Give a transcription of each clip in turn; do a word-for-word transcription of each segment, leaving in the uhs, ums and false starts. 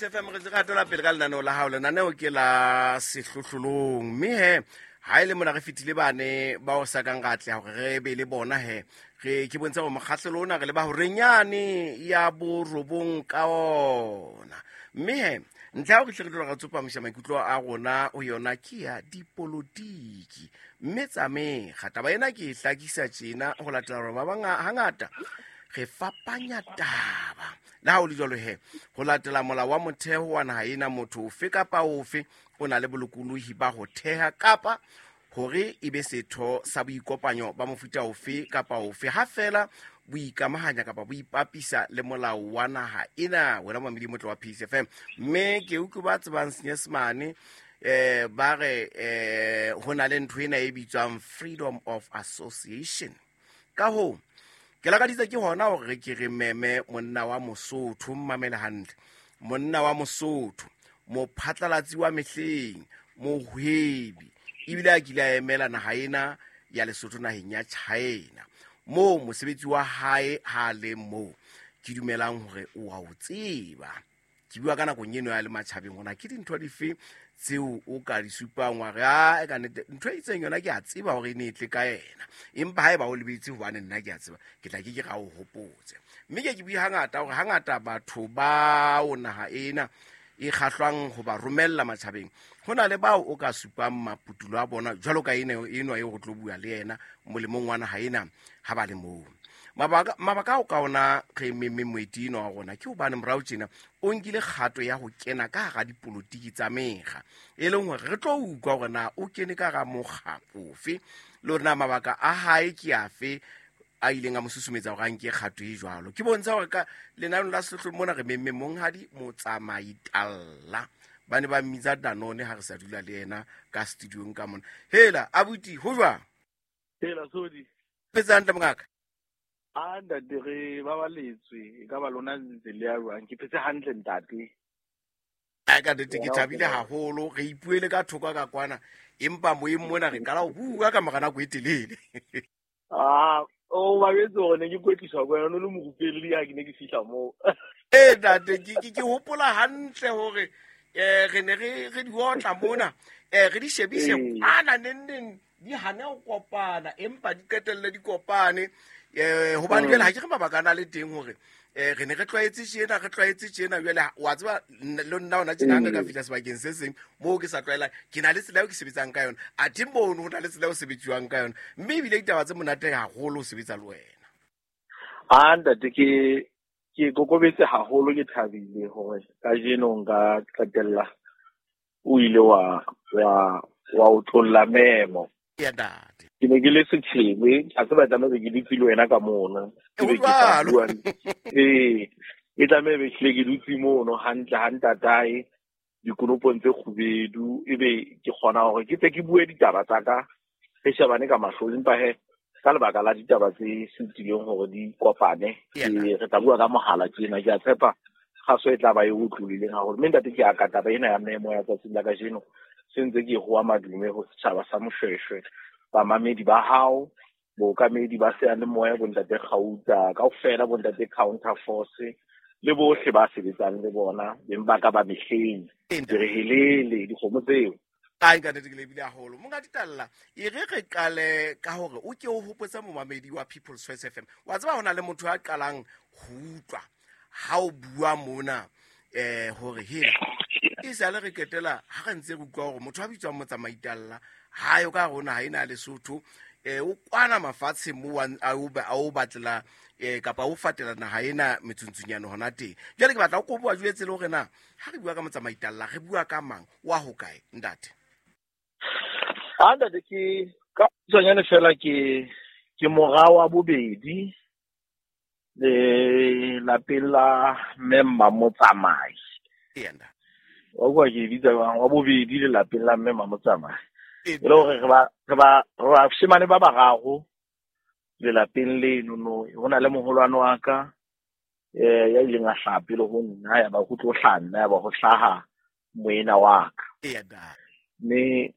Peace F M re ntse re hatela pele ka lenaneo la hao. Lenaneo ke la sehlohlolong, mme he ha e le mona re fetile bane ba o sa kang ra atleha hore re be le bona he. Re ke bontsha hore mokgahlelo ona re le ba horenyane ya borobong ka ona. Mme he ntlha ya hore hle re tlo re tsopamisa maikutlo a rona ho yona ke ya dipolotiki. Mme tsa mekga taba ena ke e hlakisa tjena ho latela hore ba bang hangata re fapanya taba. Le ha ho le jwalo he, ho latela molao wa motheo wa naha ena, motho ofe kapa ofe o na le bolokolohi ba ho theha kapa hore e be setho sa boikopanyo ba mofuta ofe kapa ofe, ha feela bo ikamahanya kapa bo ipapisa le molao wa naha ena. Wena momamedi motle wa Peace F M, mme ke utlwe ba tsebang Senyesemane eh ba re eh ho na le ntho ena e bitswang freedom of association. Ka hoo ke lakaditse ke hona hore ke re meme monna wa Mosotho, mmamele hantle, monna wa Mosotho, mophatlalatsi wa mehleng, mohwebi, ebile a kile a emela naha ena ya Lesotho naheng ya China, moo mosebetsi wa hae ha le moo ke dumelang hore o a o tseba. Ke bua ka nakong eno ya le matjhabeng hona ke dintho dife tseo o ka di supang wa re a e ka nnete ntho e itseng yona ke a tseba hore e ne e tle ka yena, empa haeba o lebetse hobane nna ke a tseba, ke tla ke ke ra o hopotse. Mme ke ke bue hangata hore hangata batho bao naha ena e kgahlwang ho ba romella matjhabeng, ho na le bao o ka supang maputulo a bona jwalo ka ena enwa eo re tlo bua le yena molemong wa naha ena ha ba le moo. Mabaka mabaka ao ka ona re memme moeti enwa wa rona ke hobane morao tjena o nkile kgato ya ho kena ka hara dipolotiki tsa mekga, e leng hore re tlo utlwa hore na o kene ka hara mokga ofe le hore na mabaka a hae ke afe a ileng a mo susumetsa hore a nke kgato e jwalo. Ke bontsha hore ka lenaneo la sehlohlolong mona re memme monghadi Motsamai Talla, ba ne ba mmitsa Danone ha re sa dula le yena ka studiong ka mona. Hela abuti, ho jwang? Hela Sodi. Phetse hantle mongaka? A ntate, re babaletswe, e ka ba lona ntse le ya jwang? Ke phetse hantle ntate. A ka nnete ke thabile haholo, re ipuele ka thoko ka kwana, empa moyeng mona re qala ho bua ka mora nako e telele. Ah, o ba jwetse hore ne ke kwetliswa ko wena, o no le morupelli ha ke ne ke fihla moo. Eh ntate, ke ke ke hopola hantle hore eh re ne re re di otla mona, eh re di shebise kwana neng neng di hane ho kopana, empa di qetelle di kopane. Eh hobane jwale ha ke re mabaka a na le teng hore eh re ne re tlwaetse tjena, re tlwaetse tjena jwale wa tseba le nna hona tjena ha nka fihla sebakeng se seng moo ke sa tlwaelang, ke na le tsela eo ke sebetsang ka yona, athe mono ho na le tsela eo sebetsiwang ka yona, mme ebile ditaba tse monate haholo ho sebetsa le wena. Ah ntate, ke ke kokobetse haholo, ke thabile hore kajeno nka qetella o ile wa wa wa o tlolla memo. Ya ntate, ke ne ke le setjhebe, a se ba tlameha ke dutse le wena ka mono. Ke be ke sa bua. Ee, e tlameha be hlile ke dutse mono hantle ha ntatae dikonopong tse kgubedu, ebe ke kgona hore ke tle ke bue ditaba tsa ka re shebane ka mahlo, empa he ka lebaka la ditaba tse sutileng hore di kopane, re tla bua ka mohala tjena. Ke a tshepa kgaso e tla ba e utlwileng haholo. Mme ntate, ke a ka taba ena ya memo ya tsatsing la kajeno se ntse ke hoa madume ho setjhaba sa Moshweshwe, bamamedi ba hao, bookamedi ba seyalemoya, bontate Kgauta kaofela, bontate Counter Force le bohle ba sebetsang le bona, beng ba ka ba mehleng, ke re helele dikgomo tseo. Ai ka nnete ke lebile haholo. Monghadi Talla, e re re qale ka hore o ke o hopotse momamedi wa People's Choice F M. Wa tseba hona le motho a qalang ho utlwa ha o bua mona eh hore hela e sale re qetela ha re ntse re utlwa hore motho a bitswang Motsamai Talla ha yo ka rona ha ena Lesotho, eh o kwana mafatshe mo a o a o batlela eh kapa o fatela naha ena metsuntsunyane hona teng. Jwale ke batla o koboa jwetse le hore na ha re bua ka Motsamai Talla re bua ka mang, wa ho kae ntate? Ah ntate, ke ka tsonyane fela ke ke mora wa bobedi le lapeng la mme Mamotsamai. Yena wa bua ke bitsa wa bobedi le lapeng la mme Mamotsamai. E le hore re ba re ba re bashemane ba bararo lelapeng leno no, ho na le moholwane wa ka eh ya ileng a hlaha pele ho nna, ya ba ho tlo hlaha nna, ya ba ho hlaha moena wa ka. Mme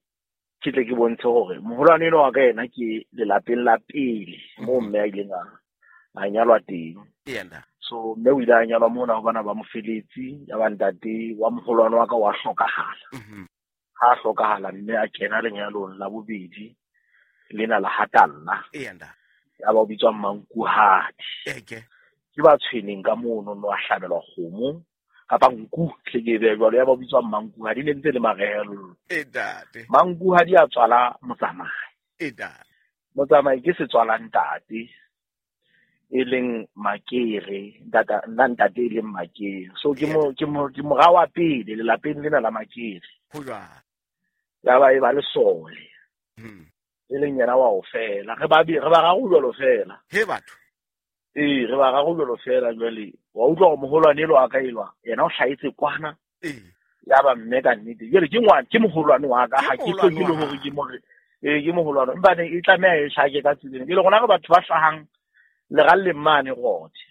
ke tle ke bontshe hore moholwane enwa wa ka yena ke lelapeng la pele moo mme a ileng a a nyalwa teng. So mme o ile a nyalwa mona ho bana ba mofeletsi, ya ba ntate wa moholwane wa ka wa hlokahala. Mhm. Ha a hlokahala mme a kena lenyalong la bobedi lena la Hatalla. Eya ntate. Ya ba o bitswa Mmankuhadi. Eke. Ke ba tshweneng ka mono no a hlabelwa kgomo kapa nku hle ke e behe jwalo, ya ba o bitswa Mmankuhadi, ne ntse le marehelo. E ntate. Mmankuhadi a tswala Motsamai. E ntate. Motsamai ke setswala ntate e leng Makere, ntata nna ntate e leng Makere. So ke mo ke mo ke mora wa pele lelapeng lena la Makere. Ho jwalo. Ya ba e ba lesole. Hmm. E leng yena wa ho fela. Re ba re bararo jwalo fela. He batho. Ee, re bararo jwalo fela jwale. Wa utlwa hore moholwane elwa wa ka elwa, yena o hlahetse kwana. Ee. Ya ba mme ka nnete. Jwale ke ngwana, ke moholwane wa ka, Ke ha ke moholwane hloke le wa hore hao. ke more. Ee, ke moholwane. Empa ne e tlameha e hlake ka tseleng. Jwale rona re batho ba hlahang leralleng mane Rothe.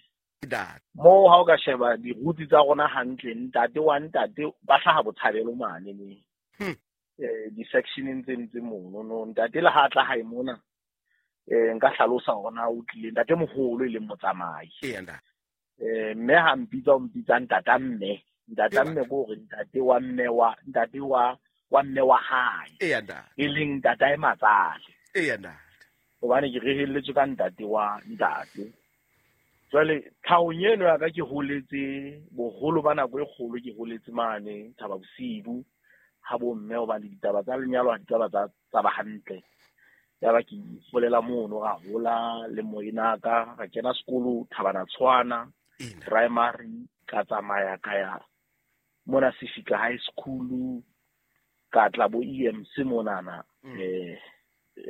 Ntate. Moo ha o ka sheba diruti tsa rona hantle, ntate wa ntate ba hlaha Botshabelo mane ne. Hmm. Eh, di-sectioneng tse ntse mono no. Ntate le ha a tla hae mona, eh, nka hlalosa hore na o tlile ntate moholo e leng Motsamai. Eya ntate. Eh, mme ha mpitsa o mpitsa ntata mme. Ntata Ee, mme ke hore ntate wa mme wa, ntate wa, wa mme wa hae. Eya ntate. E leng ntatae matsale. Eya ntate. Hobane ke rehelletswe ka ntate wa ntate. Jwale tlhahong eno ya ka ke holetse boholo ba nako e kgolo, ke holetse mane Thaba Bosiu ha bo mme, hobane ditaba tsa lenyalo ha di ka ba tsa tsa ba hantle. Ya ba ke holela mono, ra hola le moena ka, ra kena sekolo Thabana Tshwana Ee ntate. primary, ka tsamaya ka ya mona Sefika High School, ka tla bo E M C monana, Mm. eh,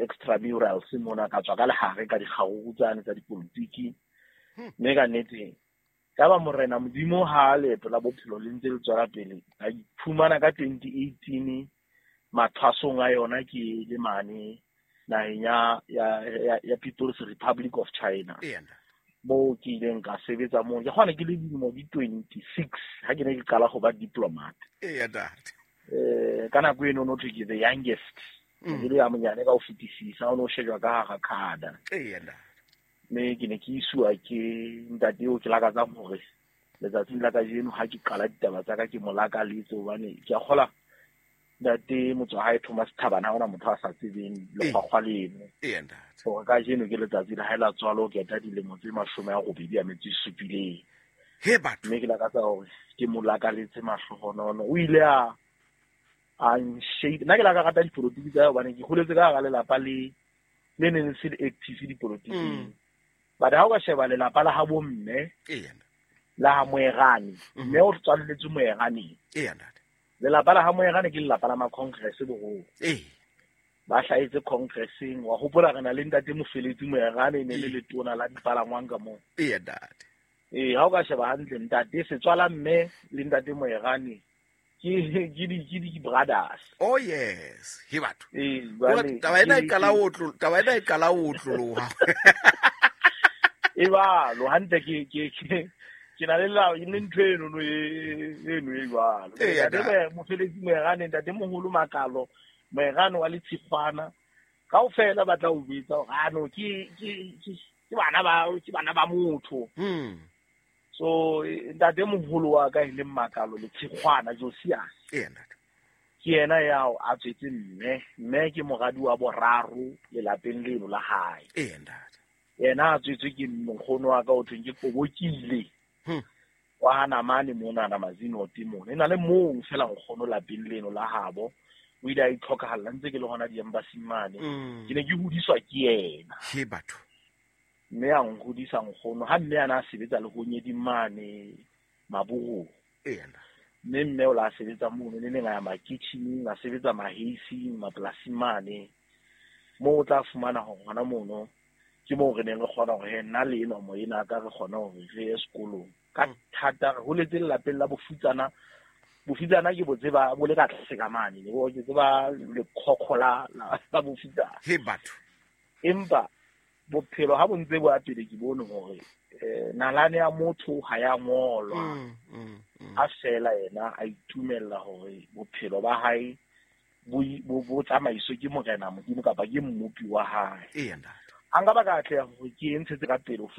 extramurals mona, ka tswa ka lehare ka dikgaruru tsane tsa dipolotiki. Hmm. Mme ka nnete ka ba morena Modimo ha leeto la bophelo le ntse le tswela pele, ka iphumana ka twenty eighteen mathwasong a yona ke le mane naheng ya, ya, ya, ya People's Republic of China. Eya ntate. Moo ke ileng ka sebetsa moo. Ke kgona ke le dilemo di twenty-six ha ke ne ke qala ho ba diplomat. Eya ntate. Eh, ka nako eno no thwe ke the youngest. Mm. Ke le ya monyane ka ho fetisisa, o no shejwa ka hara khada. Eya ntate. Mme ke ne ke isuwa ke ntate eo ke lakatsang hore letsatsing la kajeno ha ke qala ditaba tsa ka ke mo lakaletse, hobane ke a kgola ntate motswahae Thomas Thabane ha hona motho a sa tsebeng lekgwakgwa leno. Eya ntate. Hore kajeno ke letsatsi la hae la tswalo, ke eta dilemo tse mashome a robedi a metso e supileng. He batho. Mme ke lakatsa hore ke mo lakaletse mahlohonono. O ile a, a nshape. Nna ke la ka rata dipolotiki tsa hae hobane ke holetse ka hara lelapa le, le neng le se le active dipolotiking. Mm. But ha o ka sheba lelapa la habo mme, Eya ntate. la ha Moerane, Mhm. mme o tswalletswe Moeraneng. Eya ntate. Lelapa la ha Moerane ke lelapa la ma-congress boholo. Ee. Ba hlahetse congresseng. Wa hopola re na le ntate Mofeletsi Moerane, e ne le Ee. letona la dipalangwang ka moo. Eya ntate. Ee, ha o ka sheba hantle ntate setswala mme le ntate Moerane ke, ke di, ke di brothers. Oh yes, he batho. Ee, Jwale jwale taba ena e ke- qala ho otlo-, taba ena e qala ho otloloha. E jwalo, hantle ke, ke, ke, ke na le la, le ntho eno no e, eno e jwalo. Eya, Ntate ntate. Moe-, Mofeletsi Moerane, ntate moholo Makalo, Moerane wa Letshikgwana, kaofela ba tla o jwetsa hore, ah, no, ke, ke, ke, ke bana ba, ke bana ba motho. Hmm. So, ntate moholo wa ka e leng Makalo Letshikgwana, Josias. Eya, ntate. Ke yena ya a tswetse mme, mme ke moradi wa boraro lelapeng leno la hae. Eya, ntate. Yena a tswetswe ke nkgono wa ka o thweng ke Kobokile. Hmm. Wa ha Namane monana Mazinote mona. E na le mong fela nkgono lapeng leno la habo. O ile a itlhokahalla ntse ke le hona di-embassy mane. Hmm. Ke ne ke hodiswa ke yena. He batho. Mme a nhodisa nkgono. Ha mme a na sebetsa le Honyeding mane Maburung. Eya, ntate. Mme mme o la sebetsa mono, ne neng a ya makitjhining, a sebetsa maheising, mapolasing mane. Moo o tla fumana hore hona mono ke moo re neng re kgona hore he, nna le enwa moena ka re kgona hore re ye sekolong. Ka Mm. thata re holetse lelapeng la bofutsana. Bofutsana ke bo tseba bo le ka tlase ka mane, ne bo ke tseba lekhokho la, la, la bofutsana. He batho. Empa bophelo ha bo ntse bo ya pele ke bone hore, eh, nalane ya motho ha ya ngolwa. Mm, mm, mm. Ha fela yena a itumella hore bophelo ba hae bo, bo, bo tsamaiswe ke Morena Modimo kapa ke mmopi wa hae. Eya, ntate. Ha nka ba ka atleha hore ke e ntshetse ka pele ho